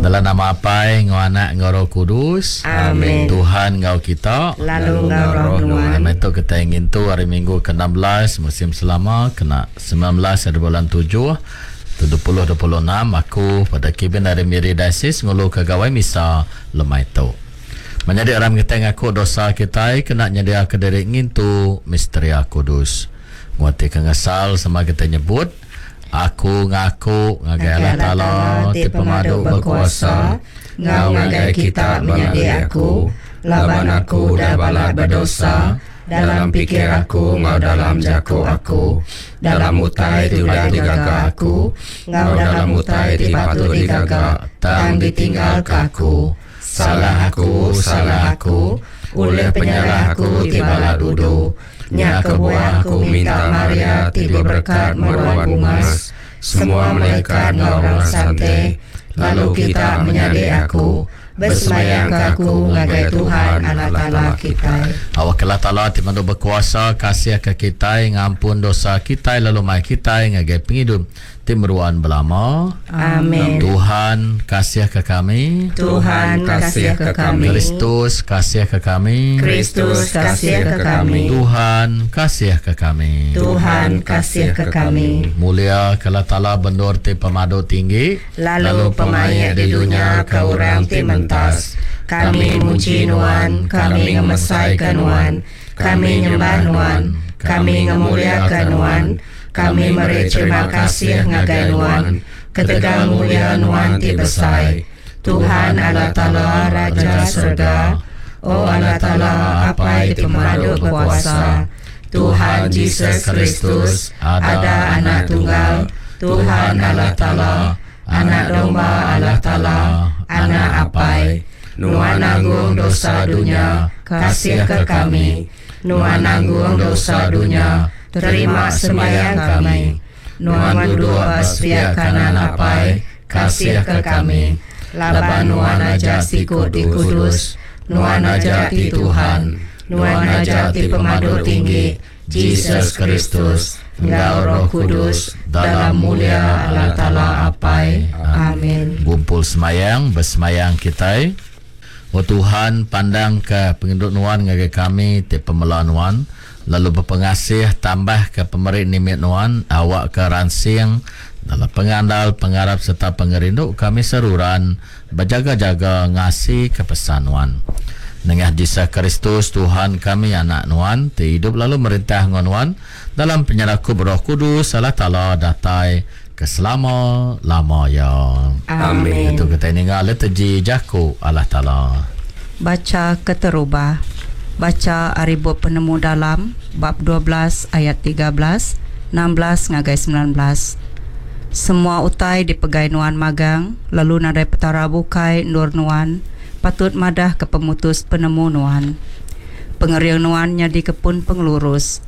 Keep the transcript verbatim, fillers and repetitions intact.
Dalam nama Apai, ngau Anak, ngau Roh Kudus. Amin. Tuhan ngau kita. Lalu ngau roh nuan. Amin. Tu kita ingin tu hari Minggu ke enam belas musim selama kena sembilan belas hari bulan tujuh dua puluh dua puluh enam aku pada Kevin dari Miri Diocese ngulu ke gawai misa lemai tu. Menjadi orang kita ngaku dosa kita kena nyedia ke diri ngintu misteria kudus. Nguati ke ngesal sama kita nyebut aku ngaku ngagai Allah Taala ti pemadu berkuasa ngau ngagai kita menyadi aku laban aku udah balat berdosa dalam pikir aku ngau dalam jaku aku dalam utai ti udah digaga aku ngau dalam utai ti patut digaga tang ditinggalka aku. Salah aku, salah aku, oleh penyalah aku ti balat udu. Nya kebuah aku minta Maria ti berberkat meruan bungas, semua malaikat ngau orang sante, lalu kita menyadi aku, bersemayang ke aku ngagai Tuhan Allah Taala kita. Awak Allah Taala ti mandu berkuasa kasih ke kita ngampun dosa kita lalu mai kita ngagai penghidup ti meruan belama. Amin. Tuhan kasih ke kami. Tuhan kasih ke kami. Kristus kasih ke kami. Kristus kasih ke kami. Tuhan kasih ke kami. Tuhan kasih ke kami. Mulia ke Allah Taala bendur ti pemadu tinggi, lalu pemaik di dunia ke orang ti mentas. Kami muji nuan, kami ngemesai ke nuan, kami nyembah nuan, kami ngemuliakan nuan. Kami meri terima kasih ngagai nuan, ketegal mulia nuan ti besai. Tuhan Allah Taala Raja Surga, O Allah Taala Apai ti pemadu berkuasa, Tuhan Jesus Kristus, ada anak tunggal, Tuhan Allah Taala, anak domba Allah Taala, anak Apai, nuan nanggung dosa dunia, kasih ke kami. Nuan nanggung dosa dunia, terima sembahyang kami. Nuan duduk ba sepiak kanan Apai, kasih ke kami. Laban nuan aja siku ti kudus, nuan aja ti Tuhan, nuan aja ti pemadu tinggi, Jesus Kristus, enggau Roh Kudus, dalam mulia Allah Taala Apai. Amin. Gumpul semayang, bersemayang kita. O Tuhan, pandang ke penginduk nuan ngagai kami ti pemela nuan, lalu berpengasih tambah ke pemeri nimit nuan, awak ke ransing dalam pengandal, pengarap serta pengerindu kami seruran berjaga-jaga ngasi ke pesan nuan. Nengah Jesus Kristus Tuhan kami anak nuan ti hidup lalu merintah ngan nuan dalam penyerakup Roh Kudus Allah Taala datai ke selama-lama ya. Amin. Itu kita ningal liturgi jaku Allah Taala. Baca keterubah. Baca ari bup penemu dalam bab dua belas ayat tiga belas, enam belas ngagai sembilan belas. Semua utai dipegai nuan magang, lalu nadai petara bukai nur nuan, patut madah ke pemutus penemu nuan. Pengering nuan nyadi kepun pengelurus,